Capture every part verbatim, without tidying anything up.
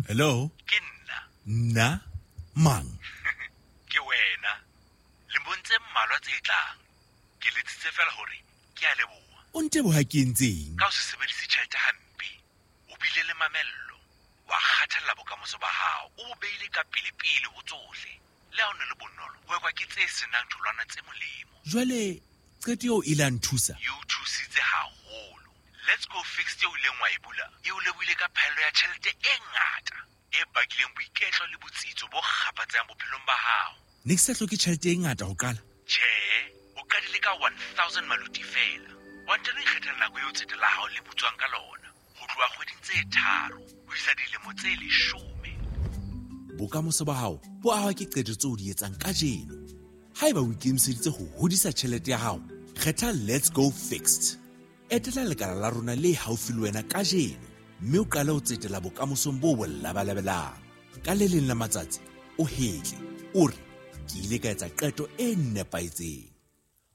Hello? Ke nna. Nna? Mang? Ke wena. Lemong tse mmalwa tse tlang. Ke letsitse fela hore ke a leboha. O nteboha ke entseng? Ka ho se sebedise tjhelete hampe. O bile le mamello. Wa kgathalla bokamoso ba hao. O bo beile ka pele-pele ho tsohle. Le ha o ne le bonolo, ho ekwa ke tse senang tholwana tse molemo. Jwale qeto eo e la nthusa? E o thusitse haholo. Let's Go Fixed eo ileng wa e bula, e o lebohile ka phaello ya tjhelete e ngata e bakileng boiketlo le botsitso bo kgaphatsehang bophelong ba hao. Ne ke sa hloke tjhelete e ngata ho qala? Tjhe, o qadile ka one thousand maluti feela. Wa ntano ikgethela nako eo tsete la hao le butswang ka lona, ho tloha kgweding tse tharo ho isa dilemo tse leshome. Bokamoso ba hao bo ahwa ke qeto tseo o di etsang kajeno. Haeba o ikemiseditse ho hodisa tjhelete ya hao, kgetha Let's Go Fixed. Etela lekala la rona le haufi le wena kajeno mme o qale ho tsetela bokamosong bo bo labalabelang. Ka le leng la matsatsi o hetle, o re ke ile ka etsa qeto e nepahetseng.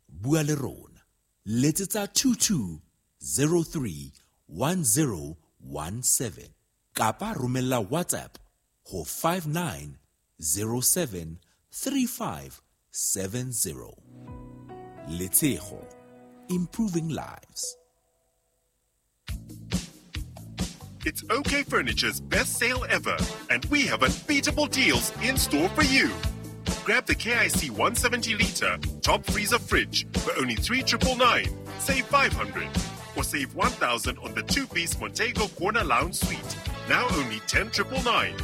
Bua le rona. Letsetsa two two zero three one zero one seven kapa romella WhatsApp ho five nine zero seven three five seven zero. Letshego, improving lives. It's OK Furniture's best sale ever, and we have unbeatable deals in store for you. Grab the K I C one seventy liter top freezer fridge for only three triple nine, save five hundred, or save one thousand on the two-piece Montego Corner Lounge Suite, now only ten triple nine.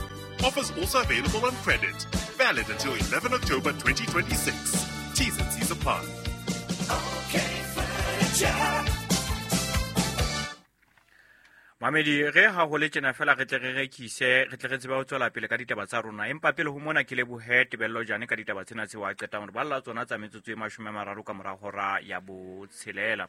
Offers also available on credit. Valid until eleven October twenty twenty-six. T's and C's apply. Okay, Furniture. Mamedi, re ha ho le tjena fela re tle re rekise, re tle re tsebe ho tswela pele ka ditaba tsa rona. Empa pele ho mona ke lebohe Tebello Jane ka ditaba tsena tseo a qetang hore balla tsona tsa metsotso e mashome a mararo ka mora hora ya botshelela.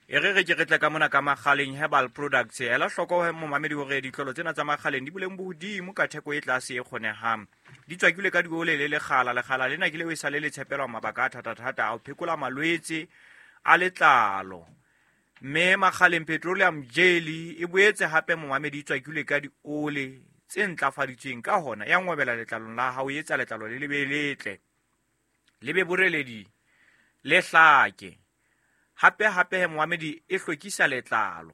E re re ke re tle ka mona ka Makgaleng Herbal Products. Ela hloko he momamedi hore ditlolo tsena tsa Makgaleng di boleng bo hodimo ka theko e tlase e kgonehang. Di tswakilwe ka diole le lekgala. Lekgala lena ke leo e sale le tshepelwa mabaka a thata-thata a ho phekola malwetse a letlalo. Mme Makgaleng Petroleum Jelly e boetse hape momamedi e tswakilwe ka diole tse ntlafaditsweng, ka hona ya ngwabela letlalong la hao, e etsa letlalo le lebe letle, le be boreledi, le hlake. Hape hape he momamedi e hlwekisa letlalo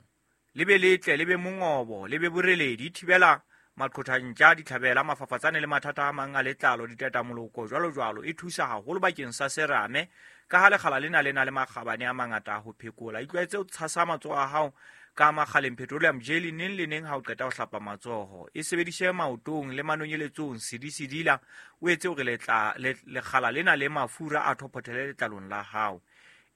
le be letle, le be mongobo, le be boreledi, e thibela maqhothantja, ditlhabela, mafafatsane le mathata a mang a letlalo, ditatamoloko jwalo jwalo. E thusa haholo bakeng sa serame ka ha lekgala lena le na le makgabane a mangata a ho phekola. Itlwaetse ho tshasa matsoho a hao ka Makgaleng Petroleum Jelly neng le neng ha o qeta ho hlapa matsoho. E sebedise maotong le manonyeletsong, sedi-sedila, o etse hore letla-, le-, lekgala lena le mafura a thophothele letlalong la hao.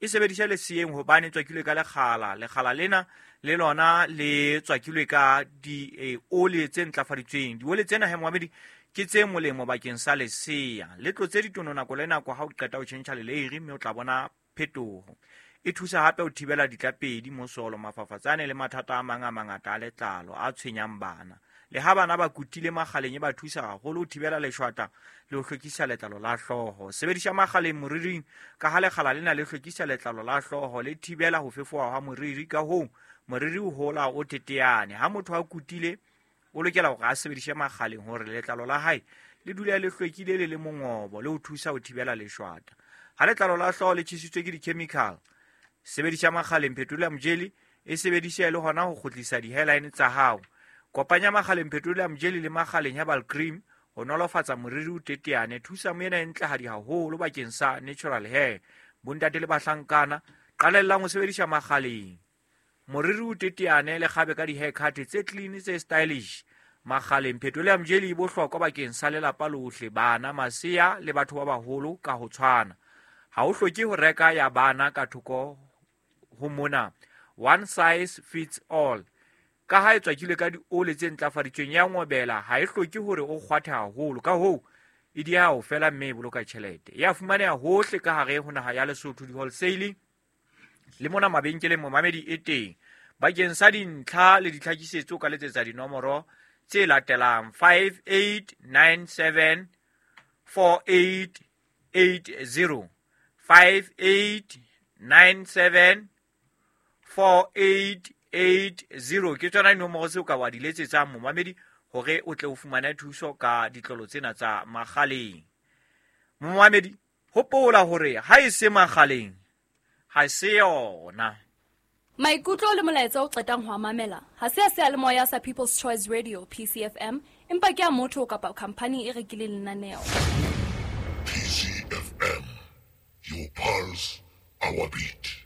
E sebedise leseyeng hobane e tswakilwe ka lekgala. Lekgala lena le lona le tswakilwe ka di, eh, ole tse ntlafaditsweng. Diole tsena he momamedi ke tse molemo bakeng sa lesea. Le tlotse ditono nako le nako ha o qeta ho tjhentjha leleiri, mme o tla bona phetoho. E thusa hape ho thibela ditlapedi, mosolo, mafafatsane le mathata a mang a mangata a letlalo a tshwenyang bana. Le ha bana ba kutile Makgaleng e ba thusa haholo ho thibela leshwata le ho hlwekisa letlalo la hlooho. Sebedisa Makgaleng moriring ka ha lekgala lena le hlwekisa letlalo la hlooho, le thibela ho fefoha ha moriri, ka hoo moriri o hola o teteane. Ha motho a kutile o lokela hore a sebedise Makgaleng hore letlalo la hae le dule le hlwekile le le mongobo, le ho thusa ho thibela leshwata. Ha letlalo la hlooho le tjhesitswe ke di-chemical, sebedisa Makgaleng Petroleum Jelly, e sebedise le hona ho kgutlisa di-hairline tsa hao. Kopanya Makgaleng Petroleum Jelly le Makgaleng Herbal Cream ho nolofatsa moriri o teteane. Thusa moena e ntlehadi haholo bakeng sa natural hair. Bontate le bahlankana, qalellang ho sebedisa Makgaleng. Moriri o teteane le kgabe ka di-haircut tse clean, tse stylish. Makgaleng Petroleum Jelly e bohlokwa bakeng sa lelapa lohle, bana, masea le batho ba baholo ka ho tshwana. Ha o hloke ho reka ya bana ka thoko ho mona. One size fits all. Ka ha e tswakilwe ka diole tse ntlafaditsweng ya ngobela, ha e hloke hore o kgwathe haholo, ka hoo e dieha ho fela mme e boloka tjhelete. E a fumaneha hohle ka hare ho naha ya Lesotho, di-wholesale le mona mabenkeleng momamedi e teng. Bakeng sa dintlha le ditlhakisetso ka letsetsa dinomoro tse latelang: five eight nine seven four eight eight zero, five eight nine seven four eight eight zero. Ke tsona dinomoro tseo ka wa di letsetsang momamedi hore o tle o fumane thuso ka ditlolo tsena tsa makgaleng. Momamedi, hopola hore ha e se makgaleng ha se yona. Maikutlo le molaetsa o qetang ho a mamela ha se a seyalemoya sa People's Choice Radio P C F M, empa ke a motho kapa khamphani e rekileng lenaneo. P C F M, your pulse, our beat.